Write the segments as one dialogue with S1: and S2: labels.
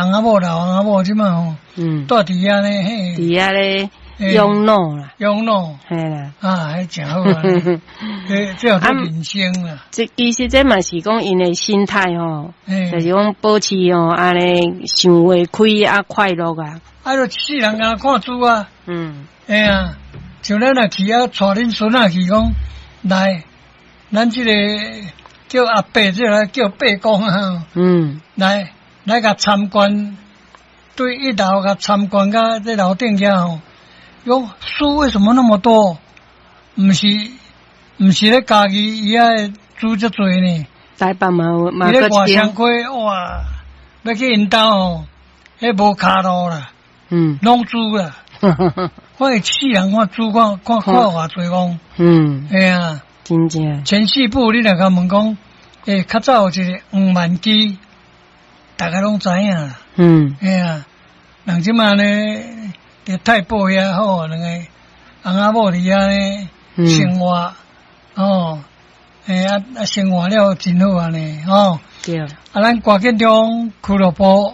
S1: 翁仔某老翁仔某這馬吼，蹛佇遐咧，嘿，
S2: 佇遐咧養老啦，
S1: 養老，
S2: 嘿啦，
S1: 啊，彼誠好啊，這叫做人生啦。
S2: 這其實這嘛是講𪜶的心態吼，就是講保持吼按呢想袂開啊快樂啊。
S1: 啊，就一世人敢若看書啊。嘿啊，像咱若去啊，帶恁孫仔去講，來，咱這個叫阿伯，這個叫伯公啊。來來共參觀，對一樓共參觀到這樓頂遐吼，喲，書為什麼那麼多？毋是毋是咧家己伊遐書遮濟呢？
S2: 台北嘛有嘛
S1: 佇咧外
S2: 閣一間
S1: 雙溪，哇，欲去𪜶兜吼，彼無跤路啦，攏書啦。我一世人看書看看看偌濟講。嘿啊。
S2: 真正。
S1: 前四部你若共問講，欸，較早有一個黃萬基，大家攏知影啦。嘿啊，人這馬呢，佇太保遐好，兩個翁仔某佇遐呢生活，哦，欸啊啊生活了真好按呢，吼。
S2: 對。
S1: 啊，咱歌劇中俱樂部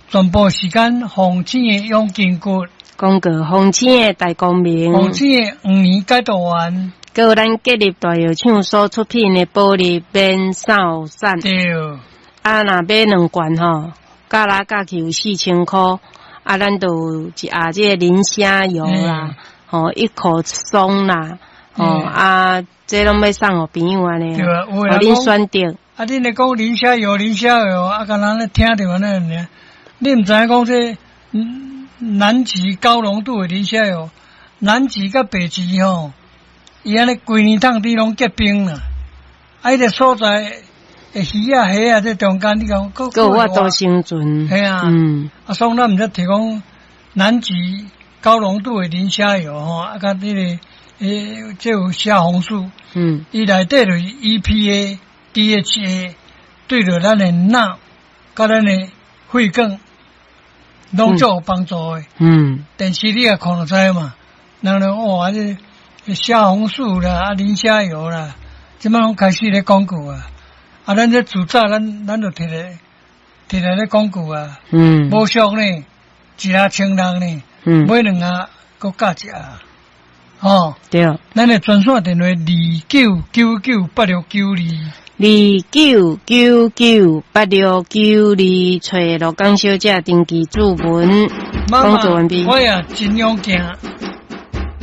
S1: 全部時間鳳青的養筋骨，
S2: 廣告鳳青的大光明，
S1: 鳳青的黃年解毒丸，
S2: 閣有咱吉立大藥廠所出品的保利免掃散。
S1: 對。
S2: 啊，若買兩罐吼，加來加去有4000箍，啊，咱就有一盒這個磷蝦油啦，吼，一口鬆啦，吼，啊，這攏欲送予朋友按呢，
S1: 對啊，有
S2: 予恁選擇。
S1: 啊，恁咧講磷蝦油，磷蝦油，啊，敢若咧聽著按呢爾，你毋知影講這南極高濃度的磷蝦油，南極佮北極吼，伊按呢規年冬天攏結冰啦，啊，彼個所在的魚仔蝦仔這中間，你講閣
S2: 閣有法度生存。
S1: 嘿啊，啊，所以咱毋才提講南極高濃度的磷蝦油吼，啊，佮這個欸，這有蝦紅素，伊內底就是 EPA、DHA，對著咱的腦，佮咱的血管，攏足有幫助的。電視你也看就知嘛，人咧哇，這蝦紅素啦，啊，磷蝦油啦，這馬攏開始咧廣告啊。啊，咱這自早咱就摕來摕來咧廣告啊。無俗呢，一盒1600呢，買兩盒閣加一盒。哦。
S2: 對。
S1: 咱的專線電話29998692。
S2: 29998692，揣鹿港小姐登記注文，
S1: 媽
S2: 講座完畢。
S1: 我也真勇健。